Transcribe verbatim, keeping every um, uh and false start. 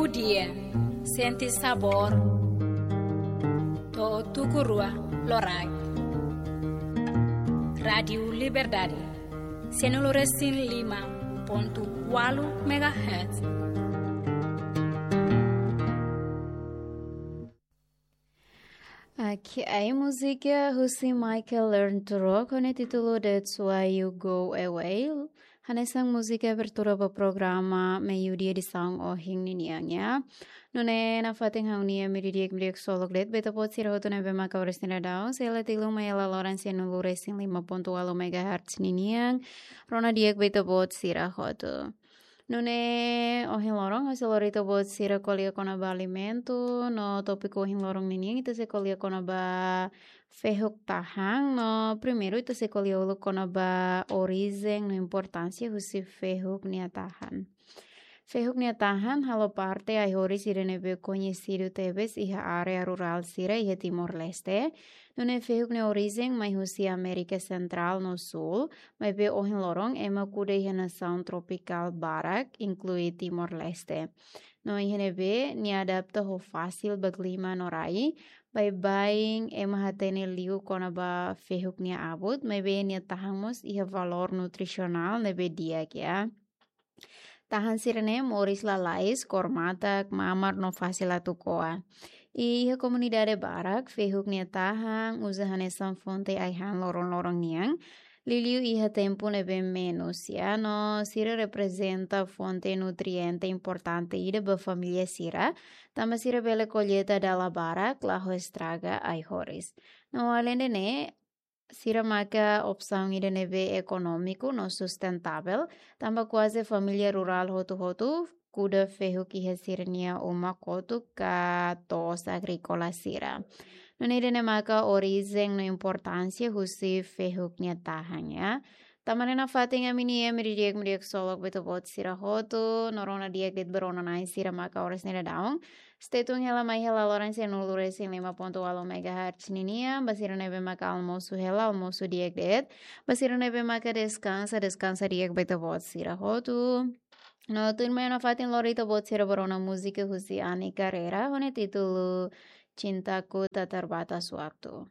Dia, sente sabór, to'o tuku rua loraik. Rádiu Liberdade, sianulu resin lima pontu ualu megahertz. Oke, ai múzika husi Michael Learns to Rock ho nia títulu That's Why You Go Away. Hanesan múzika abertura ba programa Meiudia edisaun ohin ninian, ya. Nune'e nafatin ha'u-nia imi di'ak, imi di'ak ksolok de'it ba ita-boot sira hotu ne'ebé maka oras ne'e daudaun sei hela tiha mai hela loron sianulu resin lima pontu ualu megahertz ninian, rona di'ak ba ita-boot sira hotu. Nune'e ohin loron ha'u sei lori ita-boot sira ko'alia kona-ba alimentu, no tópiku ohin loron ninian ita sei ko'alia kona-ba fehuk tahan, no primeiru ita sei ko'alia uluk kona-ba orijen no importánsia husi fehuk nia tahan. Fehuk nia tahan halo parte ai-horis ida ne'ebé koñesidu tebes iha área rurál sira iha Timor-Leste. Nune'e fehuk nia orijen mai husi Amérika Sentrál no Súl, maibé ohin loron ema kuda iha nasaun tropikál barak, inklui Timor-Leste. No iha ne'ebé nia adapta ho fasil ba klima no rai, baibain ema hatene liu kona-ba fehuk nia abut, maibé nia tahan mós iha valór nutrisionál ne'ebé di'ak, ya. Tahan sira-ne'e moris lalais, kór matak, mamar no fasil atu ko'a. I iha komunidade barak, fehuk nia tahan uza hanesan fonte ai-han loron-loron nian, liuliu iha tempu ne'ebé menus, ya, no sira reprezenta fonte nutriente importante ida ba família sira, tanba sira bele kolleita dala barak, la ho estraga ai-horis. No aleinde ne'e, sira maka opsaun ida ne'ebé ekonómiku no sustentável, tanba kuaze família rurál hotu-hotu kuda fehuk iha sira-nia uma kotuk ka to'os agríkola sira. Nune'e ida-ne'e maka orijen no importánsia husi fehuk nia tahan, ya. Tan ne'e nafatin ami-nia imi di'ak, imi di'ak ksolok ba ita-boot sira hotu, no rona di'ak de'it ba rona-na'in sira maka oras ne'e daudaun sei tun hela mai hela loron sianulu resin lima pontu ualu megahertz ninian, ba sira ne'ebé maka almosu hela, almosu di'ak de'it, ba sira ne'ebé maka deskansa, deskansa di'ak ba ita-boot sira hotu. No tuirmai nafatin lori ita-boot sira ba rona múzika husi Ani Carreira, ho nia títulu Cintaku Tak Terbatas Waktu.